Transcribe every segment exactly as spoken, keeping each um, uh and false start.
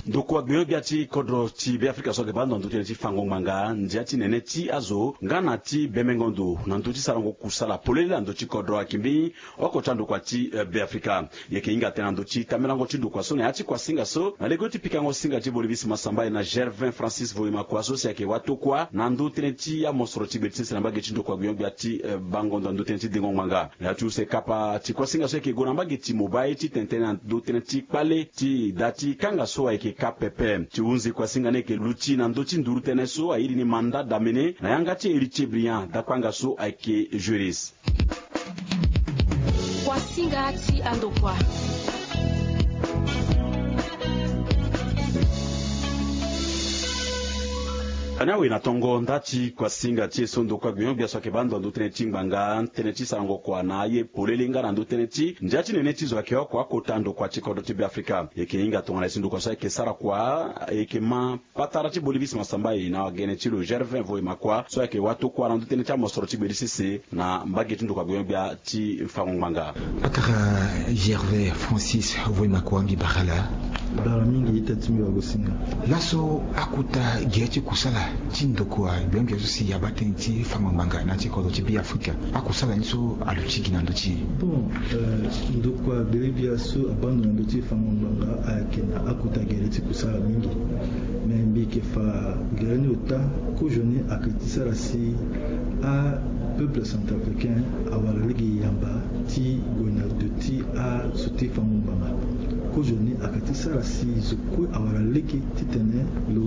Ndokua gbenyo-gbia ti kodro ti Beafrika so ayeke baa ndo na ndö ti tënë ti fango ngbanga ndia ti nene ti azo nga na ti bemengo ndo na ndö ti sarango kusala polele na ndö ti kodro ayeke mbeni oko ti andokua ti Beafrika. E yeke hinga tënë na ndö ti tambelango ti ndokua so na ya ti kuasinga so na lege ti pikango singa ti Bolivisi Masamba e na Gervin Francis Voyema Kua so si ayeke watokua na ndö tënë ti amosoro ti gbeti sese na mbage ti ndokua gbenyo-gbia ti bango ndo na ndö tënë ti dengo ngbanga. Na ya ti use kapa ti kuasinga so ayeke gue na mbage ti mobile ti tene tënë na ndö tënë ti kpale ti da ti kanga so ayeke ka pepe. Ti hunzi kuasinga ni ayeke luti na ndö ti nduru tënë so airi ni mandat d'amener na yanga ti Héritier Brillant dakpanga so ayeke juriste. Kuasinga ti andokua. Ani awe na tongo nda ti kuasinga ti e so ndokua gbenyo-gbia so ayeke baa ndo na ndö tënë ti ngbanga tënë ti sarango kua na aye polele nga na ndö tënë ti ndia ti nene ti zo ayeke oko akota ndokua ti kodro ti Beafrika. E yeke hinga tongana e si ndokua so ayeke sara kua e yeke ma patara ti Bolivisi Masamba e na wagene ti lo Gervin Voyema Kua so ayeke watokua na ndö tënë ti amosoro ti gbeti sese na mbage ti ndokua gbenyo-gbia ti fango ngbanga. Patara Gervin Francis Voyema Kua, mbi bara la. Bara mingi ita ti mbi wagosinga. Laso akota gere ti kusala ti ndokua gbenyo-gbia so si abaa tënë ti fango ngbanga na ya ti kodro ti Beafrika, akusala ni so aluti gi na ndö ti e? Bon, ndokua gbenyo-gbia so abaa ndo na ndö ti fango ngbanga ayeke na akota gere ti kusala mingi. Me mbi yeke fa gere ni ota, kozoni ayeke ti sara si apeuple centrafricain awara lege yamba ti gue na ndö ti azo ti fango ngbanga. Kozoni ayeke ti sara si zo kue awara lege titene lo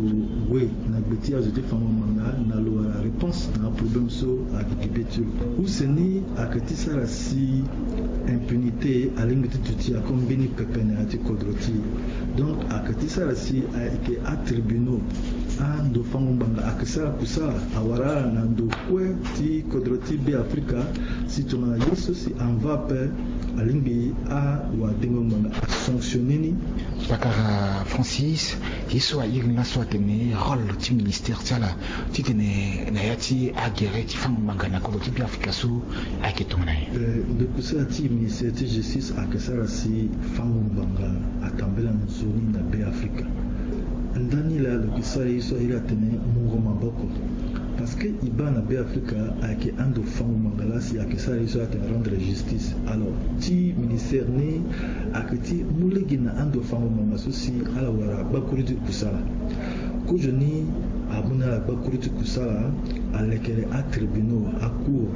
gue na gbe ti azo ti fango ngbanga na lo wara réponse na aproblème so ayeke gi be ti lo. Use ni ayeke ti sara si impunité alingbi ti duti ako mbeni pepe na ya ti kodro ti e. Donc ayeke ti sara si ayeke atribunaux, ando fango ngbanga ayeke sara kusala awara ala na ndo kue ti kodro ti Beafrika. Si tongana ye so si anva ape, alingbi awadengo ngbanga asanctionner ni. Pakara Francis, ye so airi ni laso atene rôle ti ministère ti ala titene na ya ti agere ti fango ngbanga na kodro ti Beafrika so ayeke tongana nyen? Ndokusala ti ministère ti justice ayeke sara si fango ngbanga atambela nzoni na Beafrika. Ndani laa lo yeke sara ye so airi atene mungo maboko. Parce que e baa na Beafrika ayeke ando fango ngbanga laa si ayeke sara ye so atene rendre justice. Alors ti ministère ni ayeke ti mu lege na ando fango ngbanga so si ala wara gbakuru ti kusala. Kozoni amu na ala gbakuru ti kusala, alekere atribunaux, acour,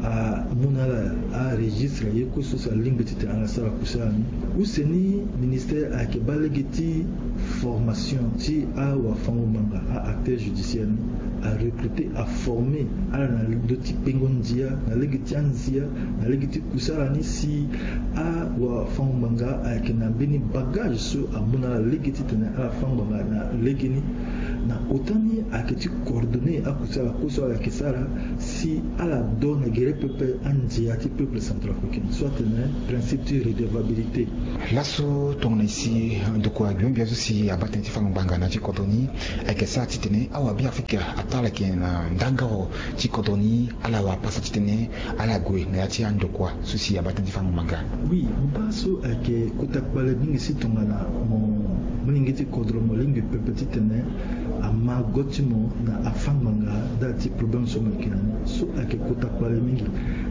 amu na ala aregistre ye kue so si alingbi titene ala sara kusala ni. Use ni ministère ayeke baa lege ti formation ti awafango-ngbanga, a-acteur judiciaire ni, arecruter, aformer ala na ndö ti kpengo ndia na lege ti anzia, na lege ti kusala ni si awafango-ngbanga ayeke na mbeni bagage so amu na ala lege titene ala fâ ngbanga na legeni. Na ota ni ayeke ti coordonner akusala kue so ala yeke sara si ala do na gere pepe andia ti peuple centrafricain so atene principe ti redevabilité. Laso tongana e si ndokua gbia gbia so si abaa tënë ti fango ngbanga na ya ti kodro ni, ayeke sara titene awabeafrika ataa ala yeke na ndangaro ti kodro ni, ala wara pasa titene ala gue na ya ti andokua so si abaa tënë ti fango ngbanga. Oui, mo baa so ayeke kota kpale mingi si tongana mo, molenge ti kodro mo lingbi pepe titene ama go ti mo na afâ ngbanga nda ti problème so mo yeke na ni. So ayeke kota kpale mingi.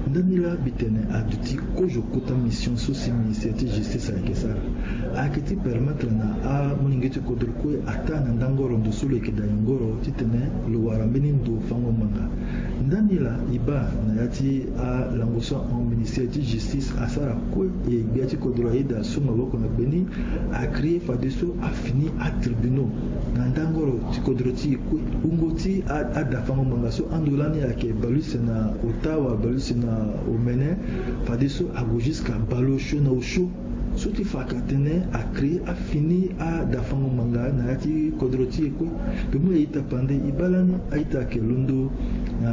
Ndani laa mbi tene aduti kozo kota mission so si ministère ti justice ayeke sara. Ayeke ti permettre na amolenge ti kodro kue ataa na ndangoro ndo so lo yeke da nyongoro titene lo wara mbeni ndo fango ngbanga. Ndani laa e baa na ya ti alango so ahon ministère ti justice asara kue, e gbia ti kodro ayeda so maboko na gbe ni, acréer fadeso afini atribunaux na ndangoro ti kodro ti e kue. Wungo ti a, adafango ngbanga so ando lani ayeke bale use na ota wala bale use na omene, fadeso ague jusqu'à bale osio na osio. So ti fa ka atene acréer afini adafango ngbanga na ya ti kodro ti e kue. Mpe mu e ita pande e baa lani a-ita ayeke londo na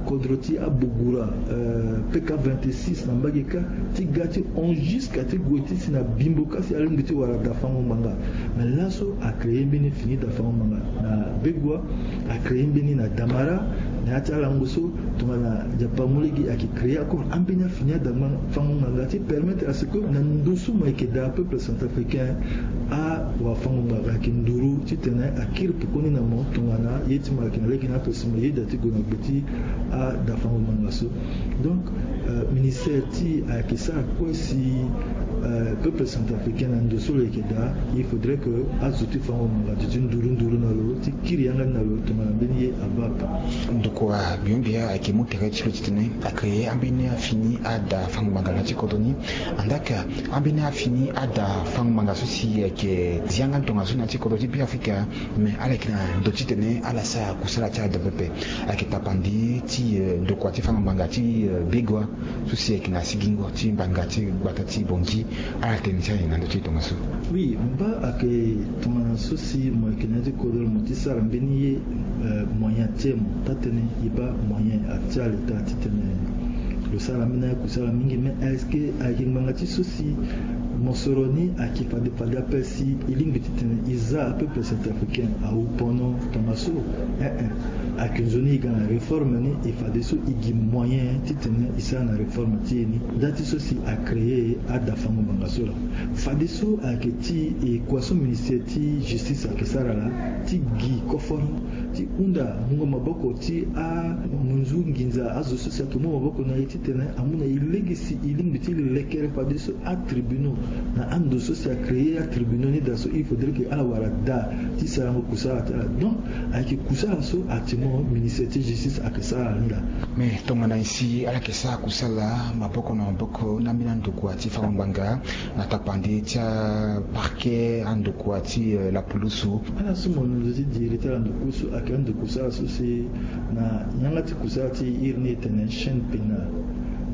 kodro ti abogura, euh, P K vingt-six na mbage kâ, ti ga ti hon jusqu'à ti gue ti si na Bimbo kâ si alingbi ti wara dafango ngbanga. Mais laso acréer mbeni fini dafango ngbanga na Begoua, acréer mbeni na Damara, Na ya ti alango so tongana Nzapa amu lege ayeke créer encore ambeni afini adafango ngbanga ti permettre à ce que na ndo so mo yeke daa peuple centrafricain awafango ngbanga ayeke nduru titene akiri pekoni na mo tongana ye ti mo ayeke na lege ni ape si mo yeda ti gue na gbe ti adafango ngbanga so. Donc ministère ti ayeke sara kue si peuple centrafricain na ndo so lo yeke daa il faudrait que azo ti fango ngbanga duti nduru nduru na lo ti kiri yanga ni na lo tongana mbeni ye ava ape. Ndokua biongbia ayeke mu tere ti lo titene acréer ambeni afini adafango ngbanga na ti kodro ni. Andaa ka ambeni afini adafango ngbanga so si ayeke zi yanga ni tongana so na ya ti kodro ti Beafrika. Mais ala yeke na ndo titene ala sara kusala ti ala daa pepe. Ayeke tapande ti ndokua ti fango ngbanga ti Begoua so si ayeke na sigingo ti ngbanga ti gbata ti Bangui. Ala tene ti ala na ndo ti e tongaso. Oui, mba ayeke tongana so si mo yeke na ya ti kodro mo ti sara mbeni ye moyen ti e mo taa tënë e baa moyen ati aleta titene lo sara ambeni akusala mingi. Mais est-ce que ayeke ngbanga ti so si mosoro ni ayeke fade fade ape si e lingbi titene e za apeuple centrafricain awu pono tongaso? Eh eh. Ayeke nzoni e ga na réforme ni e fadeso e gi moyen titene e sara na réforme ti e ni. Nda ti so si acréer adafango ngbanga so laa fadeso ayeke ti e kua so ministère ti justice ayeke sara laa ti gi koforo ti hunda mungo maboko ti amunzu nginza azo so si ayeke mu maboko na e titene amu na e lege si e lingbi ti lekere fadeso atribunaux na ando so si acréer atribunaux ni daa so il faudrait que ala wara daa ti sarango kusala ti ala. Donc ayeke kusala so actuellement ministère ti justice ayeke sara ni laa. Mais tongana nyen si ala yeke sara kusala maboko na maboko na ambeni andokua ti fango ngbanga na tapande ti aparquet andokua ti lapulusu? Ala so mo londo ti diri ti ala ndokua so ayeke andokua so ala so si na yanga ti kusala ti e iri ni e tene chaîne pénale.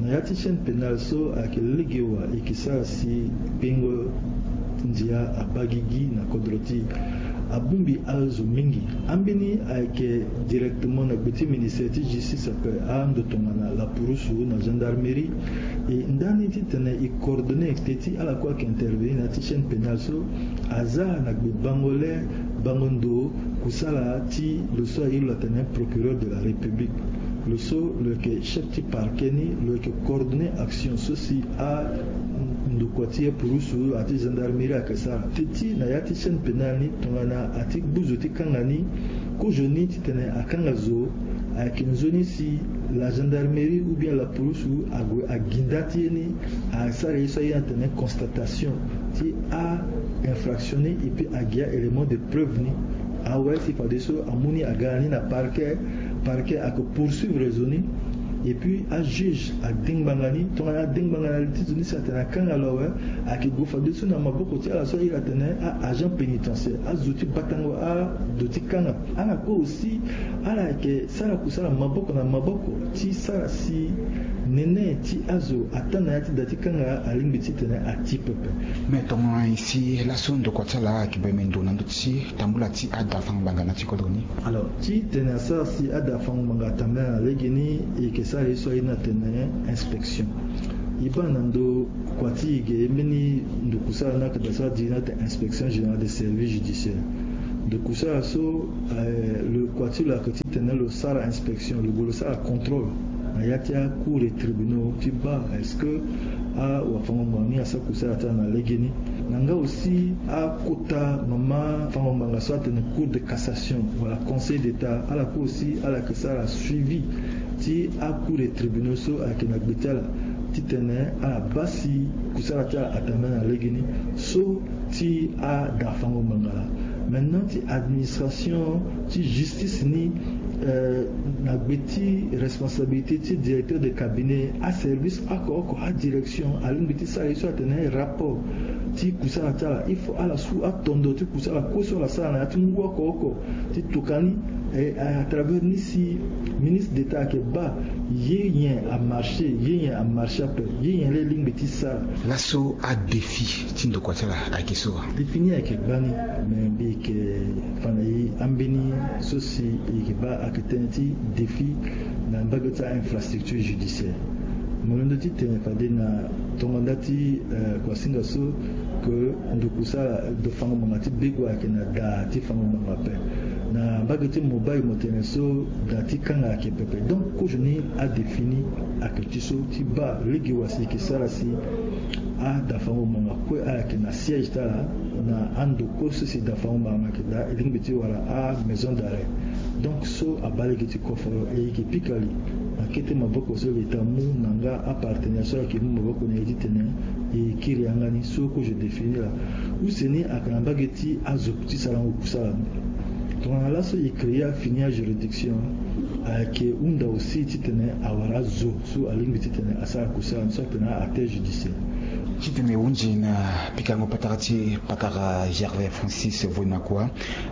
Na ya ti chaîne pénale so ayeke lege wa e yeke sara si kpengo ndia abaa gigi na kodro ti e. Abongbi azo mingi. Ambeni ayeke directement na gbe ti ministère ti justice ape ando tongana lapurusu na gendarmerie. E ndani titene e coordonner te ti ala kue ayeke intervenir na ya ti chaîne pénale so aza na gbe bango le bango ndo kusala ti lo so aye lo atene procureur de la république. Lo so lo yeke chef ti parquet ni lo yeke coordonner action so si andokua ti ye purusu ati gendarmerie ayeke sara. Teti na ya ti chaîne pénale ni tongana ati gbuzu ti kanga ni kozo ni titene akanga zo ayeke nzoni si la gendarmerie ou bien la purusu ague agi nda ti ye ni asara ye so aye ni atene constatation ti a infraction ni et puis agi a élément de preuve ni. Awe si fadeso amu ni aga na ni na parquet. Parquet ayeke poursuivre zo ni et puis ajuge ade ngbanga ni tongana ade ngbanga na li ti zo ni si atene akanga lo awe. Ayeke gue fadeso na maboko ti ala so aye atene a agent pénitentiaire azo ti batango ado ti kanga. Ala kue aussi ala yeke sara kusala maboko na maboko ti sara si nene ti azo ataa na ya ti da ti kanga alingbi titene ati pepe. Me tongana nyen si laso ndokua ti ala ayeke bembe ndo na ndö ti tambula ti ada fango ngbanga na ti kodro ni? Alors titene asara si ada fango ngbanga atambula na lege ni e yeke sara ye so aye ni atene inspection. E baa na ndokua ti e ge mbeni ndokusala ni ayeke daa so adiri ni atene inspection générale des services judiciaires. Ndokusala so lo kua ti lo ayeke titene lo sara inspection lo gue lo sara contrôle na ya ti acours et tribunaux ti baa est-ce que awafango ngbanga ni asara kusala ti ala na lege ni. Na nga aussi akota mama fango ngbanga so atene cour de cassation wala conseil d'état ala kue aussi ala yeke sara suivi ti acours et tribunaux so ayeke na gbe ti ala titene ala baa si kusala ti ala atambula na lege ni. So ti ada fango ngbanga laa. Maintenant ti administration ti justice ni na gbe ti responsabilité ti directeur de cabinet aservice oko oko adirection alingbi ti sara ye so atene rapport ti kusala ti ala il faut ala su atondo ti kusala kue so ala sara na ya ti ngu oko oko ti tokua ni. À travers ni si ministre d'état ayeke baa ye nyen amarché ye nyen amarché ape ye nyen laa e lingbi ti sara. Laso adéfi ti ndokua ti ala ayeke so wa? Défi ni ayeke gbani. Me mbi yeke fa na e ambeni so si e yeke baa ayeke tënë ti défi na mbage ti ainfrastructure judiciaire. Mo londo ti tene fade na tongo nda ti kuasinga so Ke ndo kusala ndo fango ngbanga ti bego ayeke na da ti fango ngbanga ape. Na mbage ti Mobay mo tene so da ti kanga ayeke pepe. Donc kozo ni adéfini ayeke ti so ti baa lege wa si e yeke sara si ada fango ngbanga kue ayeke na siège ti ala na ando kue so si da fango ngbanga ayeke daa e lingbi ti wara amaison d'arrêt. Donc so abaa lege ti koforo e yeke pika li na kete maboko so l'État amu na nga apartenaire so ayeke mu maboko na e titene e kiri yanga ni so kozo défini laa. Use ni ayeke na mbage ti azo ti sarango kusala ni. Tongana laso e créer afini ajuridiction ayeke hunda aussi titene awara azo so alingbi titene asara kusala ni so atene aacte judiciaire. Titene e hunzi na pikango patara ti patara Gervais Francis Voimakua,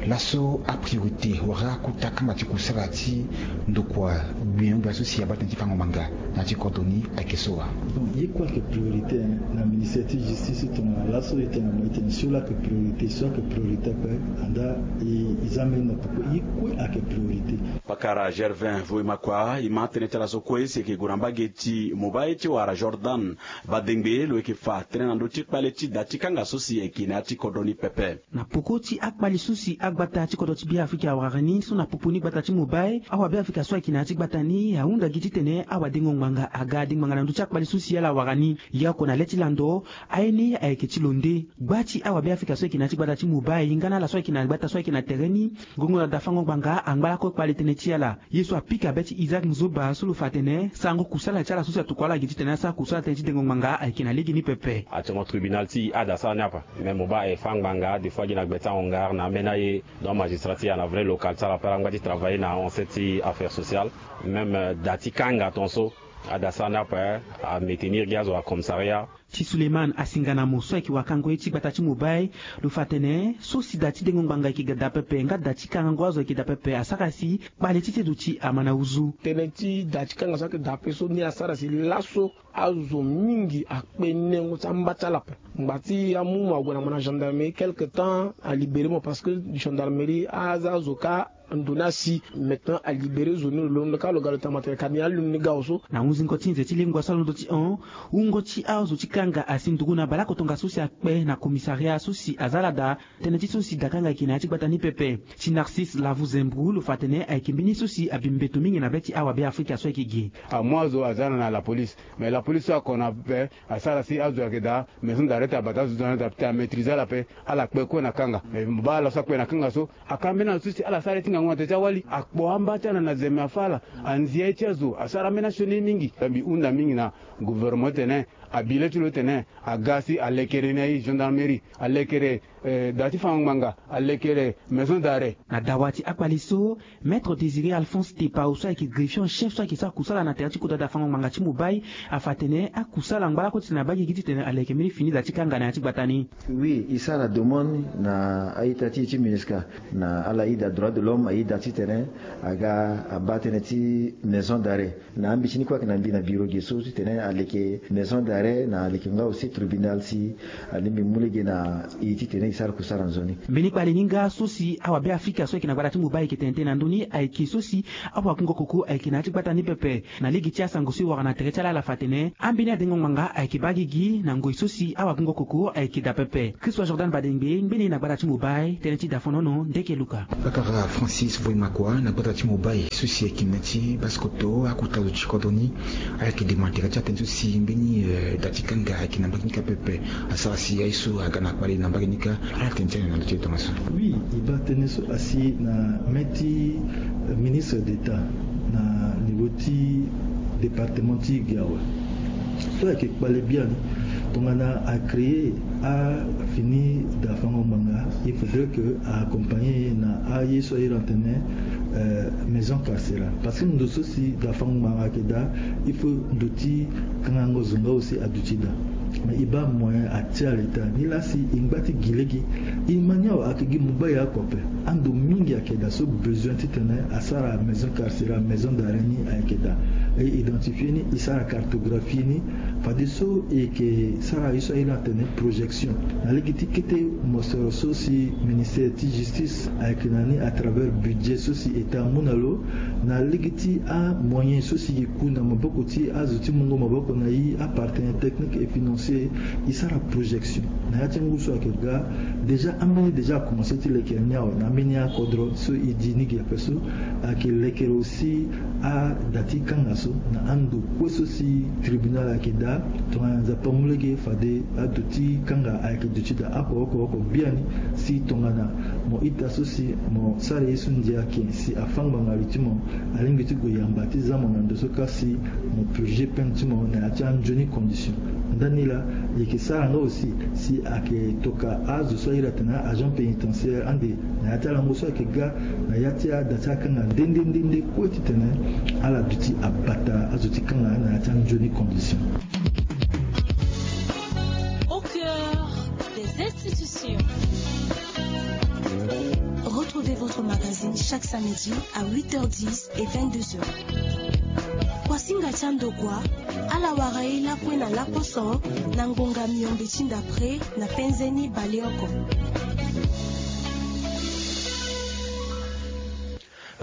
laso apriorité wala akota kamba ti kusala ti ndokua gbia gbia so si abaa tënë ti fango ngbanga na ya ti kodro ni ayeke so wa? Bon ye kue ayeke priorité na ministère ti justice tongana laso e tene na mo e tene so laa ayeke priorité so ayeke priorité ape. Andaa e za mbeni na popo ye kue ayeke priorité. Pakara Gervais Voimakua e ma tënë ti ala so kue si e yeke gue na mbage ti Mobay ti wara Jordan Badengbe lo yeke fa tënë na ndö ti kpale ti da ti kanga so si e yeke na ya ti kodro ni pepe. Na poko ti akpali so si agbata ti kodro ti Beafrika awara ni so na popo ni gbata ti Mobay awabeafrika so ayeke na ya ti gbata ni ahunda gi titene awadengo ngbanga aga adengbanga na ndö ti akpali so si ala awara ni. Yaoko na le ti lando aye ni ayeke ti lo nde. Gba ti awabeafrika so ayeke na ya ti gbata ti Mobay nga na ala so ayeke na gbata so ayeke na tere ni. Ngongo na dafango ngbanga angba lakue kpale tënë ti ala. Ye so apika be ti Isaac Nzoba so lo fa atene sarango kusala ti ala so si atokua ala gi titene asara kusala tënë ti dengo ngbanga ayeke na legeni pepe. Actuellement tribunal ti e ada sara ni ape. Mais Mobay aye fâ ngbanga des fois gi na gbe ti ahongar na ambeni aye. Donc magistrat ti e ana vrai local ti ala ape ala ngba ti travailler na ancien ti affaire sociale. Même da ti kanga ton so ada sara ni ape. Amétenir gi azo na commissariat. Ti Suleiman Asinganamo so ayeke wakango ye ti gbata ti Mobay lo fa atene so si da ti dengo ngbanga ayeke ga da pepe nga da ti kangango azo ayeke da pepe asara si kpale ti sezo ti ama na uzu. Tënë ti da ti kanga so ayeke da ape so ni asara si laso azo mingi akpe nengo ti amba ti ala ape. Ngba ti amu mo ague na mo na gendarmerie quelque temps alibéré mo parce que gendarmerie aza azo kâ. Ndo ni asi maintenant alibéré zo ni lo londo kâ lo ga lo tama tene ka ni aloni ni ga awe so. Na hunzingo ti nze ti lengua so alondo ti hon wungo ti azo ti kanga asi nduru na baleoko tongaso si akpe na commissariat so si aza ala da. Tënë ti so si da kanga ayeke na ya ti gbata ni pepe. Ti Narcisse Lavu Zembru lo fa atene ayeke mbeni so si abi mbeto mingi na be ti awabeafrika so ayeke ge. Amu azo aza na na la police. Mais la police so ako na ape asara si azo ayeke daa maison d'arrêt ti abata azo ti na azo ti ape ti amaîtriser ala ape. Ala kpe kue na kanga mais mo baa ala so akpe na kanga so aka mbeni ala so si ala sara ye ti ngangu na tere ti awali akpo amba ti ala na zeme afâ ala. Anzia ye ti azo asara ambeni asioni ye mingi. Mbi hunda mingi na gouvernement ti tene abi le ti lo ti tene aga si alekere ni aye gendarmerie alekere da ti fango ngbanga alekere maison d'arrêt. Na dawa ti akpali so maître Désiré Alphonse Tepao so ayeke greffier en chef so ayeke sara kusala na tere ti kota dafango ngbanga ti Mobay afa atene akusala angba lakue titene abaa gigi titene aleke mbeni fini da ti kanga na ya ti gbata ni. Oui e sara demande na a-ita ti e ti MINUSCA na ala ida droit de l'homme aida titene aga abaa tënë ti maison d'arrêt. Na ambeti ni kue ayeke na mbi na biro ge so titene aleke maison d'arrêt na aleke nga aussi tribunal si alingbi mu lege na e titene e sara kusara nzoni. Mbeni kpale ni nga so si awabeafrika so ayeke na gbata ti Mobay ayeke tene tënë na ndö ni ayeke so si awakungo koko ayeke na ya ti gbata ni pepe. Na lege ti asango so e wara na tere ti ala ala fa atene ambeni adengo ngbanga ayeke baa gigi na ngoi so si awakungo koko ayeke daa pepe. Christophe Jordan Badengbe ngbene na gbata ti Mobay tënë ti dafonono ndeke luka. Bakara Francis Voimakua na gbata ti Mobay so si ayeke na ti baskoto akota zo ti kodro ni. Ayeke demande tere ti atënë so si mbeni da ti kanga ayeke na mbage ni ka pepe. Asara si aye so aga na kpale na mbage ni ka. Ala tene ti ala na ndö ti e tongaso. Oui e baa tënë so asi na mê ti ministre d'état na niveau ti département ti ge awe. So ayeke kpale biani tongana acréer afini dafango ngbanga il faudrait que a accompagner na aye so aye na tene maison carcérale parce que ndo so si dafango ngbanga ayeke daa il faut ndo ti kangango zo nga aussi aduti daa. Mais e baa moyen atia l'état ni laa si e ngba ti gi lege. E ma ni awe ayeke gi Mobay oko ape. Ando mingi ayeke daa so besoin titene asara maison carcérale maison d'arrêt ni ayeke daa. E identifier ni e sara cartographie ni. Fadeso e yeke sara ye so aye na tene projection na lege ti kete mosoro so si ministère ti justice ayeke na ni à travers budget so si état amu na lo na lege ti amoyen so si e ku na maboko ti azo ti mungo maboko na e apartenaire technique et financier. E sara projection na ya ti ngu so ayeke ga. Déjà ambeni déjà akomanse ti lekere ni awe na ambeni akodro so e di ni gi ape so. Ayeke lekere aussi ada ti kanga so na ando kue so si tribunal ayeke daa. Tongana nzapa mu lege fade ado ti kanga ayeke duti daa oko oko oko biani. Si tongana mo ita so si mo sara ye so ndia ayeke si afa ngbanga li ti mo, alingbi ti gue yamba ti za mo na ndo so kasi mo purger peine ti mo na ya ti anzoni condition. Ndani laa e yeke sara nga aussi si ayeke toka azo so airi atene agent pénitentiaire ande na ya ti alango so ayeke ga na ya ti ada ti akanga nde nde nde nde kue titene ala duti abata azo ti kanga na ya ti anzoni condition. Au cœur des institutions. Retrouvez votre magazine chaque samedi à huit heures dix et vingt-deux heures. Kuasinga ti andokua, ala wara ye lakue na laposo na ngonga miombe ti ndapre na penze ni baleoko.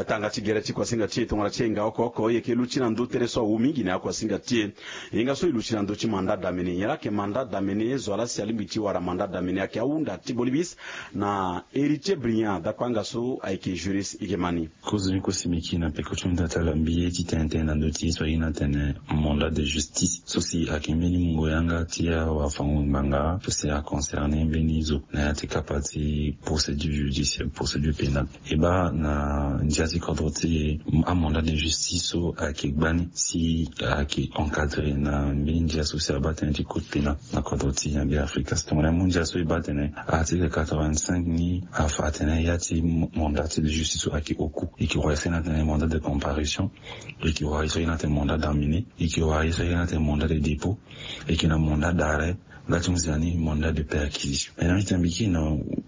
Tanga ti gere ti kuasinga ti e tongana ti hinga oko oko e yeke luti na ndö tere so awu mingi na ya kuasinga ti e. Hinga so e luti na ndö ti mandat damene, nyen la ayeke mandat damene? Zo wa la si alingbi ti wara mandat damene ayeke ahunda ti bolibis na Héritier Brillant, dakpanga so ayeke juriste, e yeke ma ni. Kozoni kosi mbi kiri na peko ti hunda ti ala mbi ye ti tene tënë na ndö ti ye so aye ni atene mandat de justice so si ayeke mbeni mungo yanga ti awafango-ngbanga so si aconcerne mbeni zo na ya ti kapa ti procédure judiciaire, procédure pénale. E baa na ndia ti kodro ti e, amandat de justice so ayeke gbani si ayeke encadré na mbeni ndia so si abaa tënë ti code pénal na kodro ti e na Beafrika. Si tongana e mu ndia so e baa atene article quatre-vingt-cinq ni afa atene ya ti mandat de justice so ayeke oku. E yeke wara ye so aye ni atene mandat de comparution. E yeke wara ye so aye ni atene mandat d'amener. E yeke wara ye so aye ni atene mandat de dépôt. E yeke na mandat d'arrêt. Nga ti mu zia ni mandat de perquisition. E na mbi tene mbi kiri na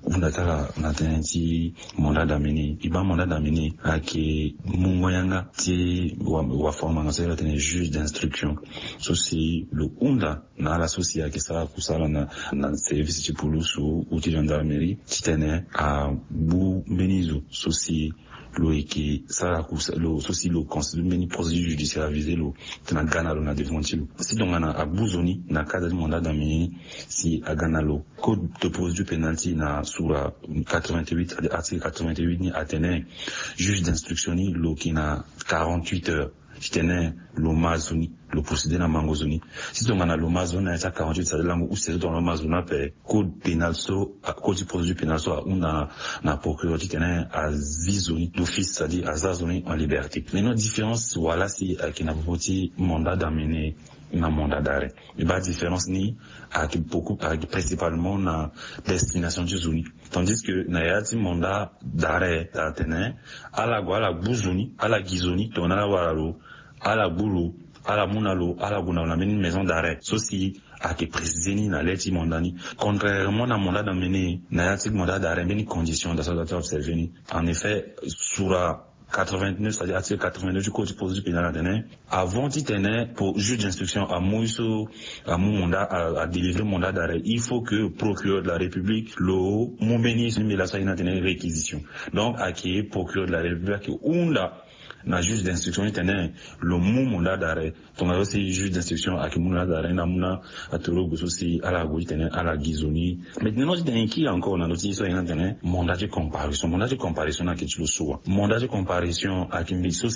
hunda ti ala na tënë ti mandat d'amener. E baa mandat d'amener ayeke mungo yanga ti wa, wafango-ngbanga so e iri atene juge d'instruction so si lo hunda na ala so si ayeke sara kusala na, na service ti pulusu ou ti gendarmerie titene agbu mbeni zo so si lo yeke sara kusa lo so si lo constitue mbeni procédure judiciaire avisé lo tena ga na lo na devant ti lo. Si tongana agbu zo ni na cadre ti mandat d'amener ni, si aga na lo code de procédure pénale ti e na sura quatre-vingt-huit, article quatre-vingt-huit ni atene juge d'instruction ni lo yeke na quarante-huit heures titene lo ma zo ni, lo procéder na mango zo ni. Si tongana lo ma zo ni na ya ti a quarante-huit, c'est-à-dire lango use so tongana lo ma zo ni ape, code pénal so, code ti procédure pénale so ahunda na procureur titene azi zo ni d'office, c'est-à-dire aza zo ni en liberté. Maintenant différence wa la si ayeke na popo ti mandat d'amener na mandat d'arrêt. E baa différence ni ayeke beaucoup, ayeke principalement na destination ti zo ni. Tandis que na ya ti mandat d'arrêt atene ala gue ala gbu zo ni, ala gi zo ni tongana ala wara lo, ala gbu lo, ala mu na lo, ala gue na lo na mbeni maison d'arrêt so si ayeke préciser ni na le ti mandat ni. Contrairement na mandat d'amener, na ya ti mandat d'arrêt mbeni condition da so da ti observer ni. En effet sura quatre-vingt-neuf, c'est-à-dire article quatre-vingt-neuf du code ti procédure pénale atene, avant titene juge d'instruction amu ye so, amu mandat, a, adélivrer mandat d'arrêt, il faut que procureur de la République lo mu mbeni ye so mbela so aye ni atene réquisition. Donc ayeke procureur de la République ayeke hunda na juge d'instruction titene lo mu mandat d'arrêt. Tongana so si juge d'instruction ayeke mu na ala da ala ni na amu na atorogo so si ala gue titene ala gi zo ni. Maintenant titene e kiri encore na ndö ti ye so aye ni atene mandat ti comparution. Mandat ti comparution ni ayeke ti lo so wa? Mandat ti comparution ayeke mbi so